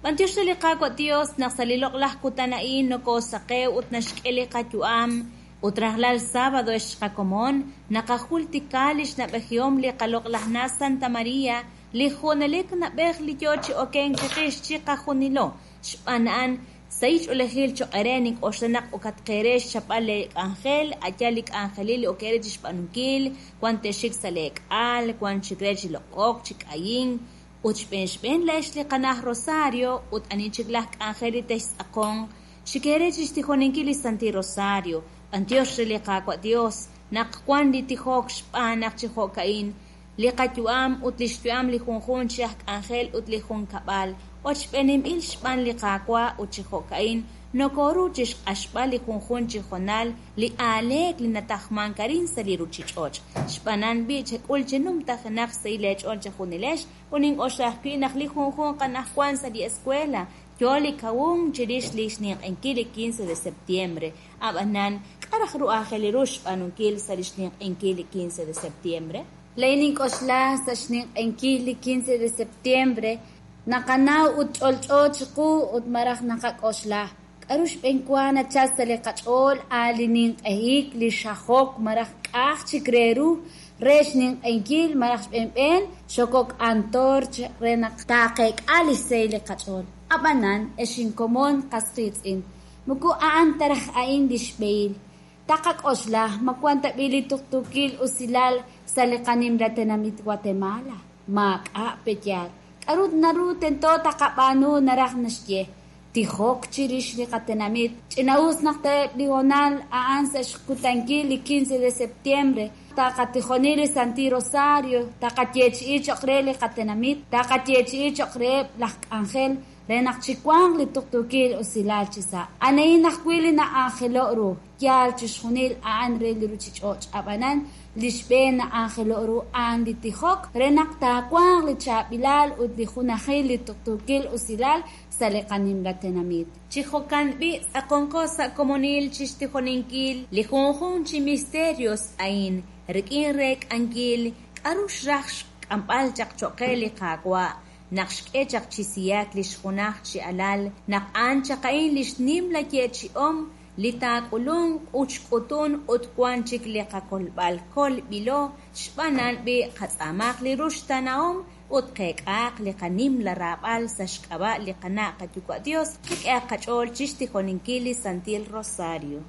B'antiox re li Qaawa' Dios naq sa' li loq'laj kutan a'in nokosaqew ut naxk'e li qayu'am ut rajlal sábado ex qakomon naqajultika li xnab'ejihom li qaloq'laj na Santa Maria li junelik nab'ej li yo chi okenk chiqix chiqajunilo xb'aan a'an sahil ch'oolejil choq' eere nink'oxla naq okatqeere xchapb'al lee k'anjel a'yaal li k'anjelil li ok eere chixb'aanunkil wan te'xik sa' lee k'al wan chik re chi loq'ok chi k'ayink ut xb'een xb'een leex li qanaj Rosario ut ani chik laj k'anjel li textz'aqonq xik eere chixtijoninkil li Santil Rosario. B'antiox re li Qaawa' Dios naq wan li tijok xb'aan naq chi jo'ka'in li qayu'am ut li xyu'am li junjunq chi aj k'anjel ut li junkab'al ochb'eeninb'il xb'aan li Qaawa' ut chi jo'ka'in nokoru chixq'axb'al li junjunq chi jonal li aaleek li natajmank arin sa' li ruchich'och'. Xb'aanan b'i' chek'ul chi numtajenaq sahil eech'ool chejunilex ut nink'oxla ajwi' naq li junjunq anaqwan sa' li escuela yo li kawunk chirix li xninq'enkil li 15 de septiembre. Ab'anan, k'a' raj ru aajel ru xb'aanunkil sa' li xninq'enkil li 15 de septiembre? Laa'in nink'oxla sa' xninq'enkil li 15 de septiembre naqanaw ut ch'olch'o chiqu ut maraj naqak'oxla k'aru xb'eenwa nachal sa' li qach'ool a li ninq'ehik li xajok maraj k'aj chik re ru re xninq'enkil maraj xb'eenb'een xokok antorch re naq taaqeek'a li xsahil li qach'ool. Ab'anan ex inkomon qas qiitz'in moko a'an ta raj a'in li xb'ehil. Taqak'oxla ma wan tab'i' li tuqtuukil usilal sa' li qanimla tenamit Guatemala. Maak'a' peyaal. K'aru naru tento taqab'aanu naraj naxye tijok chirix li qatenamit. Ch'ina'us naq ta'eb' li honal a'an sa' xkutankil li 15 de septiembre taqatijoni li Santil Rosario taqayeechi'i choq' re li qatenamit taqayeechi'i choq' reheb' laj k'anjel re naq chiwanq li tuqtuukil usilal chi sa'. Anahin ajwi' li na'anjelo' ru yaal chixjunil a'an re li ruchich'och' ab'anan li xb'een na'anjelo' ru a'an li tijok re naq taawanq li chaab'ilal ut li junajil li tuqtuukil usilal sa' li qanimla tenamit. Chi jo'kan b'i' tz'aqonqo sa' komonil chixtijoninkil li junjunq chi misterios a'in rik'in reek'ankil k'aru xraj xk'amb'al chaq choq' qe li Qaawa' naq xk'e chaq chi siyak li xjunaj chi alal naq a'an chaq a'in li xnimla yeechi'om li taak'ulunq ut xk'utun ut wan chik li qakolb'al kolb'ilo xb'aanan b'i' qatz'aamaq li ruxtanahom ut qeek'aaq li qanimla raab'al sa' xk'ab'a' li qana' qayuwa' Dios qak'ehaq qach'ool chixtijoninkil li Santil Rosario.